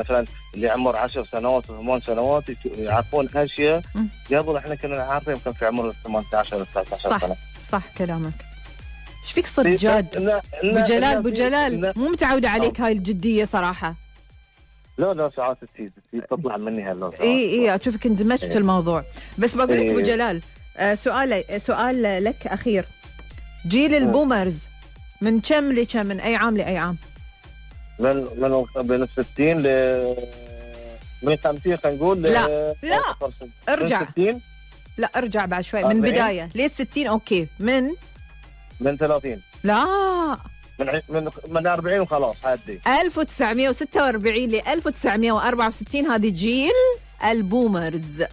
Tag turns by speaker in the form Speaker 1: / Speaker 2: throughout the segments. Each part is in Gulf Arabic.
Speaker 1: مثلا اللي عمر 10 سنوات و8 سنوات يعرفون اشياء قبل احنا كنا نعرفها يمكن في عمر 18 19 سنه.
Speaker 2: صح كلامك. ايش فيك صرت جاد؟ ابو جلال مو متعوده عليك هاي الجديه صراحه.
Speaker 1: لا ساعات تطلع مني هلا.
Speaker 2: اي اشوفك اندمجت الموضوع. بس بقول لك ابو جلال، سؤال لك اخير. جيل البومرز من كم لكم، من اي عام لاي عام؟
Speaker 1: من بين 60 من 50 خلينا نقول.
Speaker 2: لا ارجع.
Speaker 1: 60.
Speaker 2: لا ارجع بعد شوي من البدايه. ليه 60؟ اوكي من
Speaker 1: 30.
Speaker 2: لا
Speaker 1: من 40 وخلاص عادي.
Speaker 2: 1946 ل 1964 هذه جيل البومرز.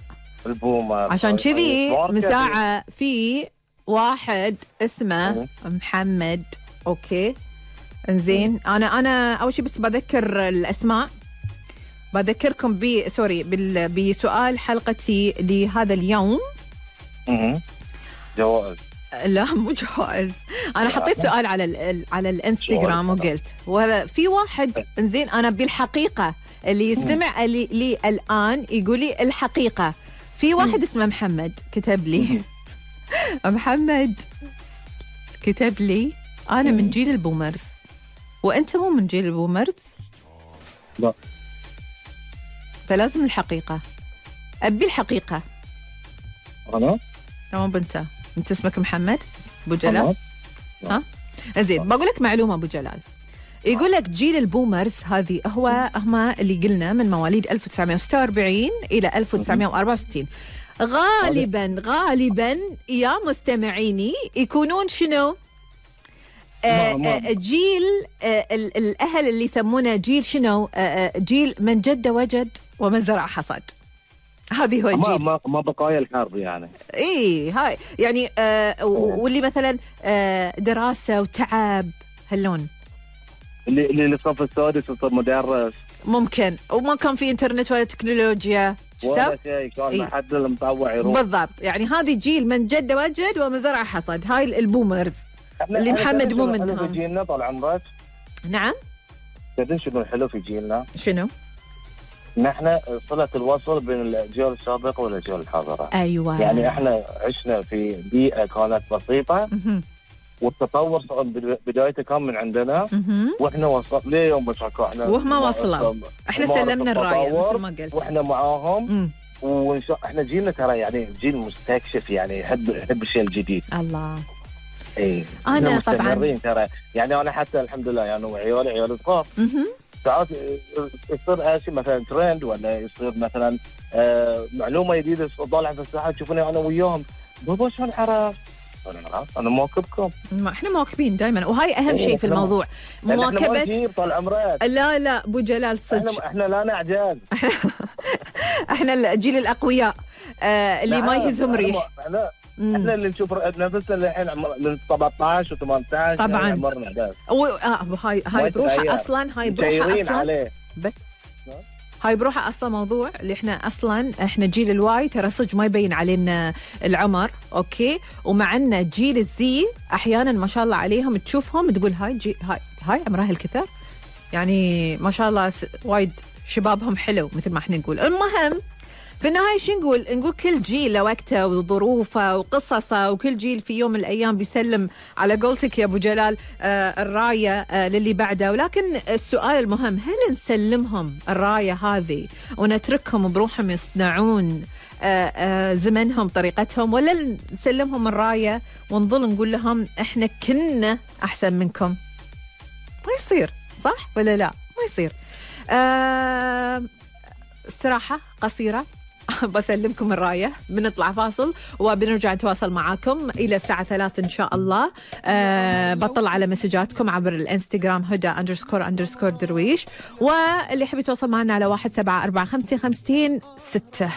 Speaker 2: عشان كذي من ساعة في واحد اسمه محمد. اوكي انزين. انا اول شيء بس بذكر الاسماء. بذكركم بسؤال حلقتي لهذا اليوم.
Speaker 1: جوائز.
Speaker 2: لا مو جوائز. انا حطيت سؤال على الانستغرام وقلت وفي واحد انزين انا بالحقيقه اللي يستمع لي الان يقول لي الحقيقه. في واحد اسمه محمد كتب لي محمد كتب لي انا من جيل البومرز وانت مو من جيل البومرز.
Speaker 1: لا
Speaker 2: فلازم الحقيقه. ابي الحقيقه.
Speaker 1: انا
Speaker 2: تمام. انت اسمك محمد ابو جلال؟ ها زين. بقول لك معلومه ابو جلال. يقول لك جيل البومرز هذه هم اللي قلنا من مواليد 1946 الى 1964. غالبا يا مستمعيني يكونون شنو؟ جيل الاهل اللي يسمونه جيل شنو؟ جيل من جد وجد ومن زرع حصد. هذه هو الجيل.
Speaker 1: ما بقايا الحرب يعني.
Speaker 2: اي هاي يعني واللي مثلا دراسه وتعب هاللون.
Speaker 1: اللي الصف السادس وصار مدرس
Speaker 2: ممكن. وما كان في انترنت ولا تكنولوجيا.
Speaker 1: ولا شيء. كان ما حد المطوع يروح.
Speaker 2: بالضبط. يعني هذه جيل من جد وجد ومن زرع حصد. هاي البومرز اللي محمد مو منهم.
Speaker 1: في جيلنا طال عمرك.
Speaker 2: نعم.
Speaker 1: تدري شنو الحلو في جيلنا؟
Speaker 2: شنو؟
Speaker 1: نحن صلة الوصل بين الأجيال السابقة والأجيال الحاضرة.
Speaker 2: أيوة.
Speaker 1: يعني احنا عشنا في بيئة كانت بسيطة والتطور بدايته كان من عندنا واحنا وصلنا ليوم بس احنا
Speaker 2: وهم وصلوا. احنا سلمنا الراية مثل ما قلت
Speaker 1: واحنا معاهم. احنا جيلنا ترى يعني جيل مستكشف يعني يحب الشيء الجديد.
Speaker 2: الله.
Speaker 1: اي
Speaker 2: انا طبعا
Speaker 1: ترى يعني انا حتى الحمد لله يعني عيال صغار ساعات يصير شيء مثلا ترند ولا يصير مثلا معلومه جديده طالعه في الساحه تشوفوني انا وياهم بابا شلون عرفت؟ انا مواكبكم.
Speaker 2: احنا مواكبين دائما وهاي اهم شيء في الموضوع. مواكبه.
Speaker 1: طال عمرك.
Speaker 2: لا ابو جلال صدق.
Speaker 1: احنا لا نعجز.
Speaker 2: احنا الجيل الاقوياء اللي ما يهزهم ريح.
Speaker 1: احنا اللي نشوف نفسنا الحين من 17 و18
Speaker 2: طبعا
Speaker 1: عمرنا بس.
Speaker 2: هاي بروحها اصلا. هاي بروحها اصلا
Speaker 1: عليه.
Speaker 2: بس هاي بروحها اصلا موضوع اللي احنا جيل الواي ترى صدق ما يبين علينا العمر. اوكي. ومع ان جيل الزي احيانا ما شاء الله عليهم تشوفهم تقول هاي عمرها الكثر يعني ما شاء الله وايد شبابهم حلو مثل ما احنا نقول. المهم في النهاية شو نقول كل جيل له وقته وظروفه وقصصه وكل جيل في يوم من الأيام بيسلم على قولتك يا أبو جلال الراية للي بعده. ولكن السؤال المهم هل نسلمهم الراية هذه ونتركهم بروحهم يصنعون زمنهم طريقتهم ولا نسلمهم الراية ونظل نقول لهم احنا كنا أحسن منكم؟ ما يصير صح ولا لا؟ ما يصير. استراحة قصيرة بسلمكم الراية. بنطلع فاصل وبنرجع نتواصل معاكم إلى الساعة 3 إن شاء الله. بطلع على مسجاتكم عبر الانستغرام هدى__درويش واللي يحب يتواصل معنا على 1745 52 6.